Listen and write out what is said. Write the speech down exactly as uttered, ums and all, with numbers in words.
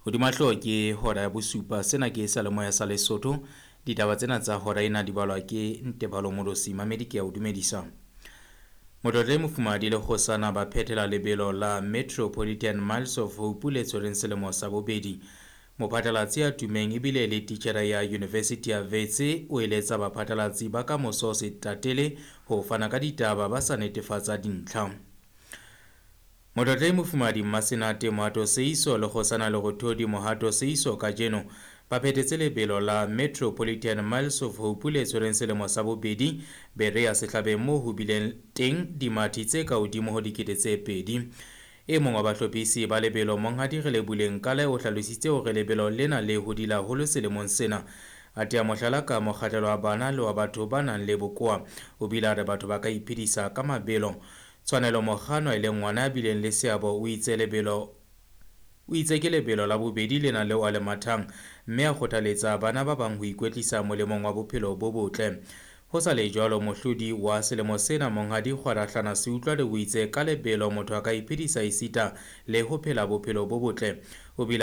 Hodima hlooho ke hora ya bosupa. Sena ke Seyalemoya sa Lesotho. Ditaba tsena tsa hora ena di balwa ke Ntebalo Molosi. Mamedi ke a o dumedisa. Motlotlehi Mofumahadi le Kgosana ba phethela lebelo la Metropolitan Miles of Hope le tshwereng selemo sa bobedi. Mophatlalatsi ya tummeng ebile e le titjhere ya University ya Wits o eletsa baphatlalatsi ba kamoso se tatele ho fana ka ditaba ba sa netefatsa dintlha. Motlotlehi Mofumahadi Mmasenate Mohato Seiso le Kgosana Lerothodi Mohato Seiso kajeno ba phethetse lebelo la Metropolitan Miles of Hope le tshwereng selemo sa bobedi Berea Sehlabeng moo ho bileng teng dimathi tse ka hodimo ho dikete tse pedi. E mong wa bahlophisi ba lebelo Monghadi Relebuleng Kale o hlalositse hore lebelo lena le hodile haholo selemong sena. A tea mohlala ka mokgahlelo wa bana le wa batho ba nang le bokowa. O bile a re batho ba ka iphedisa ka mabelo. Tshwanelo Mokgano e leng ngwana ya bileng le seabo o itse lebelo o itse ke lebelo la bobedi lena leo a le mathang mme a kgothaletsa bana ba bang ho ikwetlisa molemong wa bophelo bo botle. Ho sa le jwalo, mohlodi wa selemo sena Monghadi Kgwarahlana Seutlwale o itse ka lebelo motho a ka iphedisa esita le ho phela bophelo bo botle. O bile